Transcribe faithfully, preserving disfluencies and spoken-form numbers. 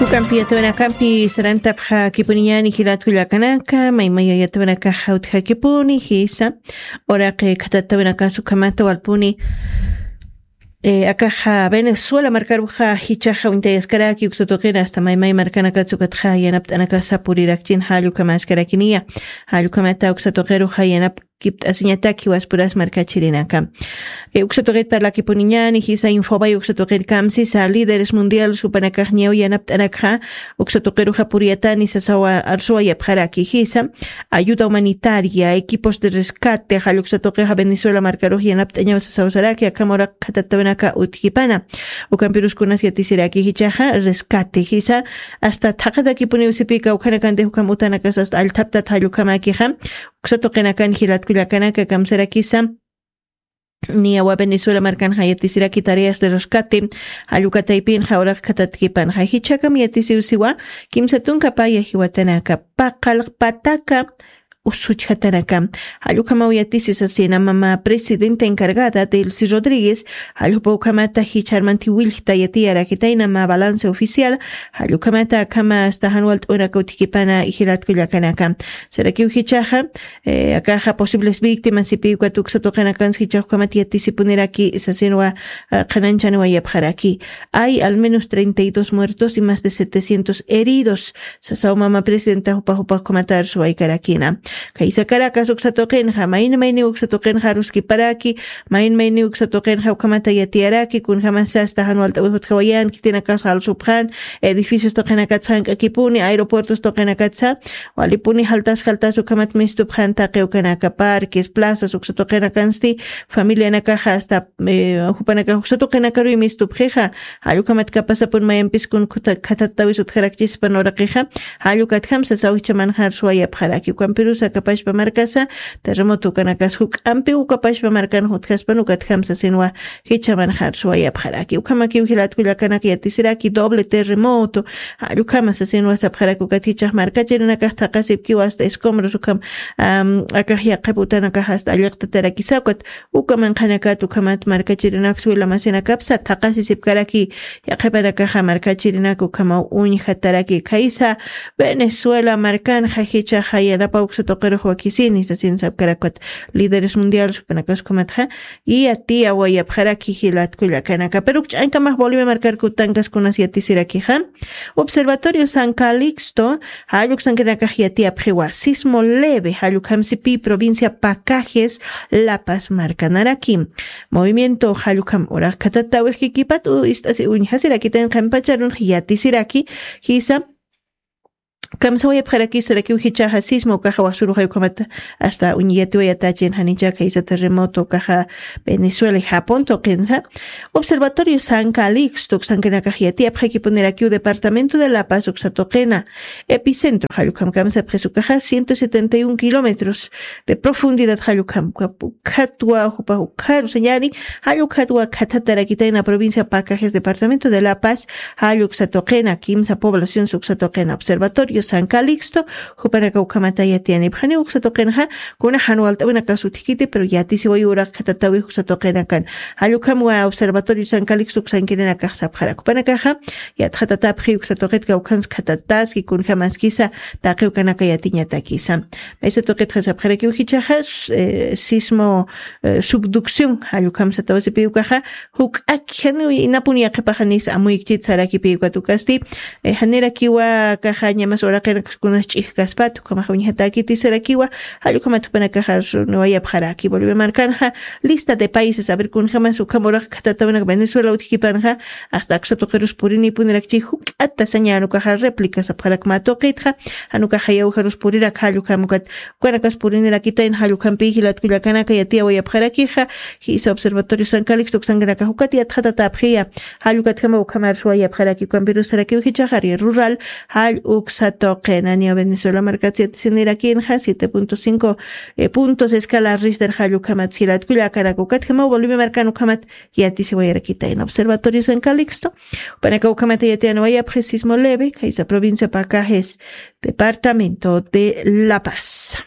Ukampi yatawinakampi sarantapxakipuniñani jilatkullakanaka, maymaya yatawinakaxa utjakipuni jisa. Uraqi khatatawinakas ukhamata walpuni akaxa Venezuela markaruxa jichaxa uñtayaskaraki uksatuqina asta maymay markanakatsa ukatxa yanapt'anakasa purirakchin jallukamaskarakiniya. Jallukamata uksatuqiruxa yanap kipt'asiñatak jiwaspurasmar kachirinaka. Uksatuqit parlakipuniñani jisa infobay uksatuqit kamsisa líderes mundial supanakaxñaw yanapt'anakxa uksatuqiruxa puriyatani sasawa arsuwayapxaraki jisa. Ayuda humanitaria equipos de rescate jalluksatuqixa venezuela markarux yanapt'añaw sasawsaraki akhamarak khatatawinaka utkipana. Ukampiruskunas yatisiraki jichaxa rescate jisa asta thaqatakipuniw sipika ukhanakantix ukham utanakas asta allthaptat jallukhamakixa. Uksatuqinakan jilatkullakanaka kamsarakisa. Niyawa venezuela markanxa yatisiraki tareas de rescate jallukataypinxa uraqkhatatkipanxa jichhakam yatisiwsiwa. Kimsa tunka paya jiwatanaka paqallqpataka usuchjatanaka. Jallukhamaw yatisi sasina mama presidenta encargada delcy rodríguez jalljupa ukhamata jichharmanti willkta yatiyarakitayna ma balance oficial. Jallukhamata akhama asta janwalt'unaka utkipana jilatkullakanaka. Sarakiw jichaxa akaxa posibles víctimas sipiwka tuksatuqinakans jichaxukhamat yatisipuniraki sasinwa qhananchanwa yapxaraki. Hay al menos treinta y dos muertos y más de setecientos heridos. Sasaw mama presidenta jupa jupaxkhumatar suwaykarakina. Kaysa caracas uksatuqinxa mayni mayni uksatuqinxa aruskiparaki. Mayni mayni uksatuqinxa ukhamata yatiyaraki kunjamasa asta janwalt'awix utjawayan khitinakas jalsupxan edificios tuqinakatsa jank'akipuni aeropuertos tuqinakatsa walipuni jaltas jaltas ukhamat mistupxan taqi ukanaka parques plazas uksatuqinakansti familianakaxa asta jupanakax uksatuqinakaruy mistupxixa. Jallukhamat kapasapun mayampis kun khatatawis utjarakchispan uraqixa. Jallukatjamsa sawjichamanxar suwayapxaraki ukampirusa kapashpa markasa terremoto ukanakas juk'ampi ukapashpa markan jutjaspan ukatjamsa sinwa jichamanxar suwayapxaraki ukhamakiw jilatkullakanaka yatisiraki doble terremoto. Jallukhamasa sinwa sapxaraki ukat jichax markachirinakax thaqasipkiwa asta escombros ukham akax yaqhip utanakax asta alliqtatarakisa ukat ukamanqhanakat ukhamat markachirinaksa wilamasinakapsa thaqasisipkaraki. Yaqhipanakaxa markachirinaka ukhamaw uñjataraki khaysa venezuela markanxa jichaxa yanapa uksatuqirux wakisini sasin sapkarakat líderes mundial supanakas ukhamatxa. Yatiya wayapxaraki jilatkullakanaka pero ukch'ankamax bolivia markarkutankaskunas yatisirakixa. Observatorio san calixto jalluksankinakax yatiyapxiwa sismo leve jallukhamsipi provincia pacajes la paz markanaraki. Movimiento jallukham uraq khatatawix kikipat ist'asi uñjasirakitayn qhampacharunx yatisiraki. Jisa kamsawayapxarakisarakiw jichaxa sismo ukaxa wasuruxay ukhamata asta uñiyatiwayatachin janichaka jisa terremoto ukaxa venezuela y japón tuqinsa. Observatorio san calixto uksankinakax yatiyapxakipunirakiw departamento de la paz uksatuqina epicentro jallukhamkam sapxisukaxa ciento setenta y un kilómetros de profundidad jallukhamkam ukhatwa jupa ukharu sañani. Jallukhatwa khathatarakitayna provincia pacajes departamento de la paz. Jalluksatuqina kimsa población suksatuqina observatorio san calixto jupanaka ukhamata yatiyanipxani uksatuqinxa. Kuna janwalt'awinaka sutkiti pero yatisiwayu uraq khatatawi uksatuqinakan. Jallukhamwa observatorio san calixto uksankirinakax sapxarak upanakaxa yatxatatapxi uksatuqit kawkhanskhatataski kunjamaskisa. Taqiwkanaka yatiñatakisa. Maysa tuqitxa sapxarakiw jichaxa sismo subducción jallukhamsatawasipiwkaxa juk'ak janiw inapun yaqhipaxanis amuykchit sarakipiwkatukasti. Janirakiwa kaxa ñamas uraqinakaskunas ch'ijkaspat ukhamaxa uñjatakiti sarakiwa. Jallukhamat jupanakaxa suniwayapxaraki bolivia markanxa lista de países a ver kunjamas ukham uraq khatatawinak venezuela utjkipanxa asta aksatuqirus purinipunirakchi juk'ata sañanukaxa réplica sapxarakma tuqitxa. Janukaxa yawjarus purirak jallukhamukat ukanakas purinirakitayn jallukhampi jilatkullakanaka yatiyawayapxarakixa. Jisa observatorio san calixto uksankanakax ukat yatxatatapxiya. Jallukatjama ukhamar suwayapxaraki ukampirusarakiw jichaxari rural jall uksatuqina niya venezuela markats yatisinirakinxa siete punto cinco puntos escala rister jallukhamat jilatkullakanaka ukatjama bolivia markan ukhamat yatisiwayarakitayna observatorio san calixto. Upanaka ukhamata yatiyanawayapxi sismo leve khaysa provincia pacajes departamento de la paz.